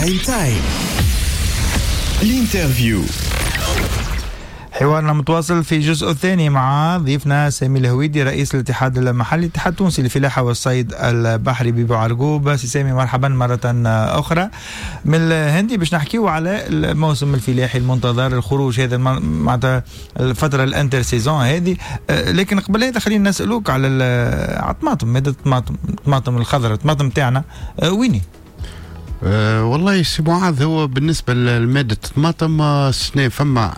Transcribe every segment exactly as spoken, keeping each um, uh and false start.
Prime Time l'interview. حوارنا متواصل في الجزء الثاني مع ضيفنا سامي الهويدي، رئيس الاتحاد المحلي الاتحاد التونسي للفلاحة والصيد البحري ببوعرقوب. سي سامي، مرحبا مرة أخرى. من الهندي باش نحكيو على الموسم الفلاحي المنتظر، الخروج هذا معناتها الفترة ال intersaison هذه، لكن قبل هذا خلينا نسألوك على الطماطم، مادة الطماطم، الطماطم الخضراء، الطماطم تاعنا ويني؟ أه والله سي معاذ، هو بالنسبة لمادة الطماطم السنة فما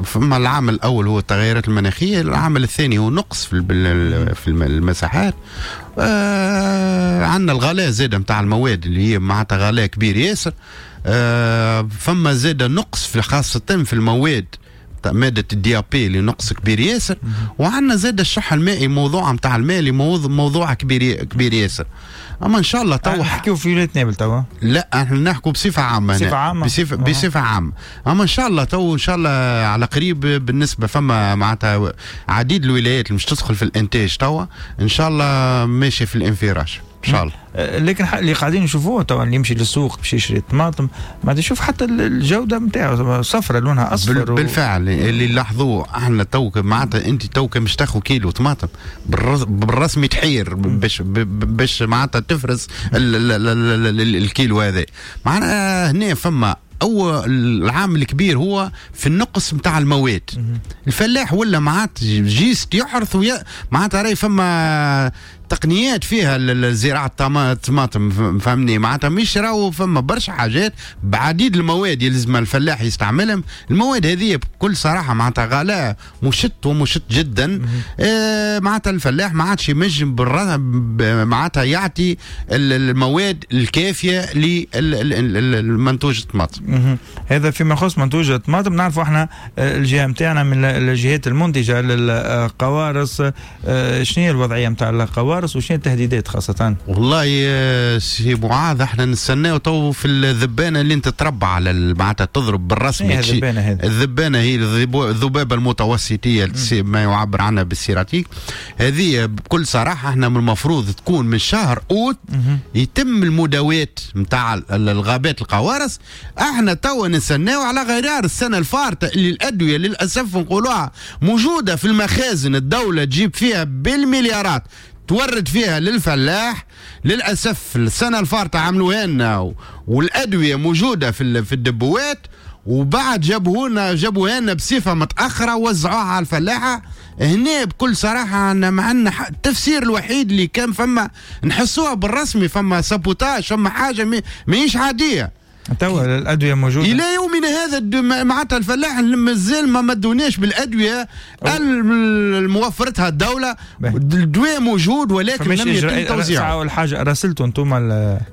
فما العامل الأول هو التغيرات المناخية، العامل الثاني هو نقص في في المساحات، أه عندنا الغلاء زاد نتاع المواد اللي هي معناتها غلاء كبير ياسر، أه فما زاد نقص في خاصة في المواد مادة ال DAP اللي نقص كبير ياسر، وعندنا زاد الشح المائي، موضوع نتاع الماء اللي موضوع, موضوع كبير كبير ياسر. اما ان شاء الله تو نحكيو في ولاية نابل توا؟ لا، احنا نحكوا بصفة عامة. بصفة عامة. بصفة بصفة عامه، اما ان شاء الله تو ان شاء الله على قريب بالنسبة فما معناتها عديد الولايات اللي مش تدخل في الانتاج توا، ان شاء الله ماشي في الانفراج ان شاء الله. لكن اللي قاعدين نشوفوه توا، اللي يمشي للسوق باش يشري الطماطم ما يشوف حتى الجودة نتاعو صفرة، لونها اصفر. بالفعل اللي لاحظوه احنا تو معناتها انت تو مش تاخذ كيلو طماطم بالرسمي تحير باش باش معناتها تفرز الكيلو هذا. معناها هنا فما أو العامل الكبير هو في النقص نتاع المواد. الفلاح ولا معناتها juste يحرث ويا معناتها راهي فما تقنيات فيها زراعة الطماطم، فهمني؟ معناتها مش راهو فما برشا حاجات بعديد المواد يلزم الفلاح يستعملهم. المواد هذه بكل صراحة معناتها غلاء مشط ومشط جدا. آه معناتها الفلاح ما عادش ينجم معناتها يعطي المواد الكافية للمنتوج الطماطم. هذا فيما يخص منتوج الطماطم. نعرفوا احنا الجهة نتاعنا من الجهات المنتجة للقوارص، آه، شنو هي الوضعية نتاع القوارص وشنو التهديدات خاصة؟ والله سي معاذ، احنا نستناو تو في الذبانة اللي انت تربى على معناتها تضرب بالرسمي. إيه الذبانة هذه؟ الذبانة هي الذبابة المتوسطية ما يعبر عنها بال cératique. هذه بكل صراحة احنا من المفروض تكون من شهر اوت يتم المداوات نتاع الغابات القوارص. احنا تو نستناو على غرار السنة الفارطة اللي الأدوية للأسف نقولوها موجودة في المخازن، الدولة تجيب فيها بالمليارات تورد فيها للفلاح. للأسف السنة الفارطة عملوها لنا والأدوية موجودة في في الدبوات، وبعد جابوه جابوها لنا بصفة متأخرة ووزعوها على الفلاحة. هنا بكل صراحة أنا ما عندنا التفسير الوحيد اللي كان فما نحسوها بالرسمي فما sabotage، فما حاجة ماهيش عادية. توا الادوية موجودة الى يومنا هذا، معناتها الفلاح مازال ما مدوناش بالادوية الموفرتها الدوله. الدواء موجود ولكن لم يتم توزيعه. اول حاجة راسلتوا انتم؟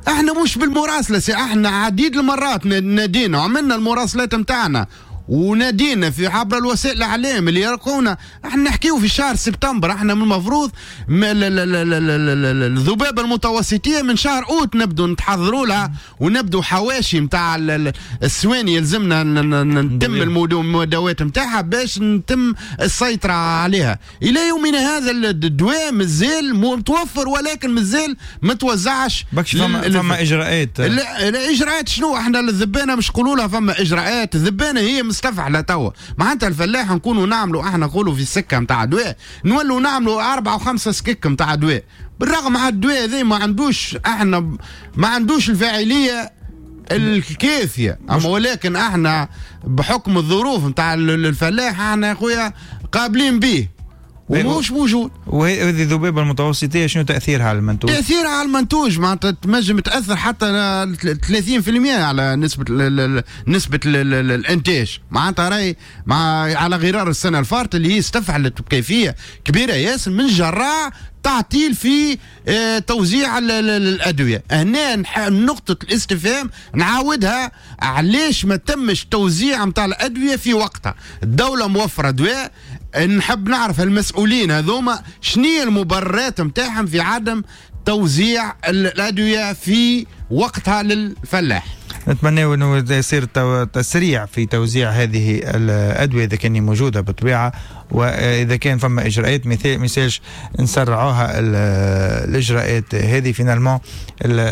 احنا مش بالمراسله، احنا عديد المرات نادينا وعملنا المراسلات نتاعنا ونادينا في عبر الوسائل الاعلام اللي يرقونا. احنا نحكيو في شهر سبتمبر، احنا من المفروض الذبابة المتوسطيه من شهر اوت نبدو نتحضروا لها ونبدو حواشي نتاع السواني يلزمنا نتم المداوات نتاعها باش نتم السيطرة عليها. الى يومنا هذا الدواء مازال متوفر ولكن مازال ما توزعش. فما, فما اجراءات. الاجراءات شنو؟ احنا الذبانه مش نقولوا لها فما اجراءات، الذبانه هي مستفعله توا. معناتها الفلاح نكونوا نعملوا احنا نقولوا في السكة نتاع دواء نولوا نعملوا اربعة وخمسة سكك نتاع دواء، بالرغم على الدواء هذا ما عندوش احنا ما عندوش الفاعلية الكافيه، اما ولكن احنا بحكم الظروف نتاع الفلاح احنا يا خويا قابلين به ومش موجود. وهذه الذبابة المتوسطيه شنو تاثيرها على المنتوج؟ تاثيرها على المنتوج معناتها تنجم تاثر حتى ثلاثين بالمئة على نسبه ال نسبه ال الانتاج. معناتها راهي مع على غرار السنة الفارطه اللي هي استفعلت بكيفية كبيرة ياسر من جراء تعطيل في توزيع الادوية. هنا نقطة الاستفهام نعاودها، علاش ما تمش توزيع نتاع الادوية في وقتها؟ الدولة موفره دواء، نحب نعرف المسؤولين هذوما شنية المبررات نتاعهم في عدم توزيع الادوية في وقتها للفلاح. نتمنى انه يصير تسريع في توزيع هذه الادوية اذا كان موجودة بالطبيعة، واذا كان فما اجراءات مثال مثالش نسرعوها الاجراءات هذه. finalement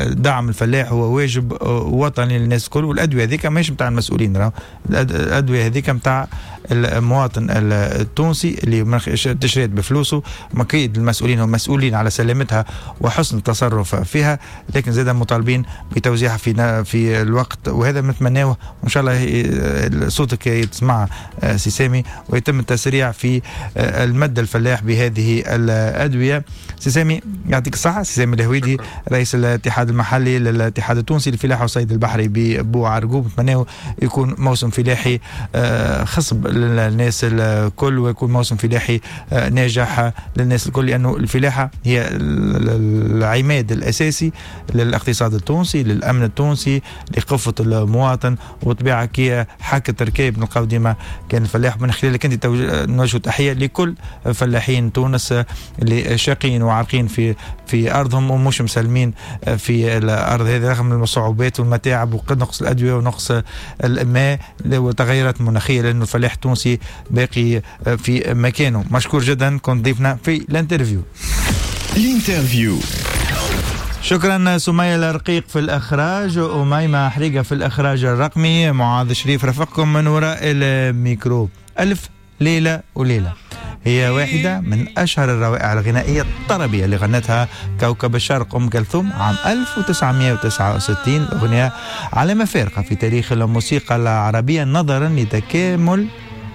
دعم الفلاح هو واجب وطني للناس الكل، والادوية هذيك ماهيش نتاع المسؤولين، راهو الادوية هذيك نتاع المواطن التونسي اللي تشريت بفلوسه. اكيد المسؤولين هم مسؤولين على سلامتها وحسن التصرف فيها، لكن زاد مطالبين بتوزيعها في في الوقت، وهذا نتمناه وان شاء الله صوتك يتسمع سي سامي ويتم التسريع في المد الفلاح بهذه الادوية. سي سامي يعطيك الصحة. سي سامي الهويدي رئيس الاتحاد المحلي للاتحاد التونسي للفلاحه والصيد البحري ببوعرقوب، نتمناه يكون موسم فلاحي خصب للناس الكل، ويكون موسم فلاحي ناجح للناس الكل، لانه الفلاحة هي العماد الاساسي للاقتصاد التونسي، للامن التونسي، لقفه المواطن، وطبيعه كي حكة ركاب نلقاو ديما كان الفلاح. من خلالك انت نوجه تحية لكل فلاحين تونس اللي شاقين وعارقين في في ارضهم ومش مسلمين في الارض هذه رغم الصعوبات والمتاعب ونقص الادوية ونقص الماء والتغيرات المناخية، لانه الفلاح التونسي باقي في مكانه. مشكور جدا كنت ضيفنا في l'interview. l'interview. شكرا سمية الرقيق في الإخراج، أميمة حريقة في الإخراج الرقمي، معاذ شريف رفقكم من وراء الميكرو. ألف ليلة وليلة هي واحدة من أشهر الروائع الغنائية الطربية اللي غنتها كوكب الشرق أم كلثوم عام ألف وتسعمائة وتسعة وستين. أغنية علامة فارقة في تاريخ الموسيقى العربية نظرا لتكامل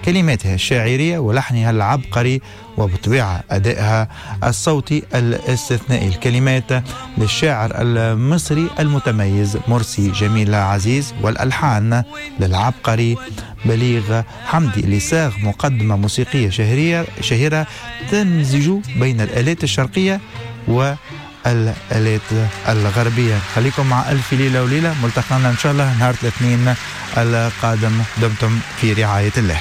كلماتها الشاعرية ولحنها العبقري وبطبيعة أدائها الصوتي الاستثنائي. الكلمات للشاعر المصري المتميز مرسي جميل عزيز، والألحان للعبقري بليغ حمدي اللي صاغ مقدمة موسيقية شهرية شهيرة تمزج بين الآلات الشرقية والآلات الغربية. خليكم مع ألف ليلة وليلة، ملتقانا إن شاء الله نهار الاثنين القادم. دمتم في رعاية الله.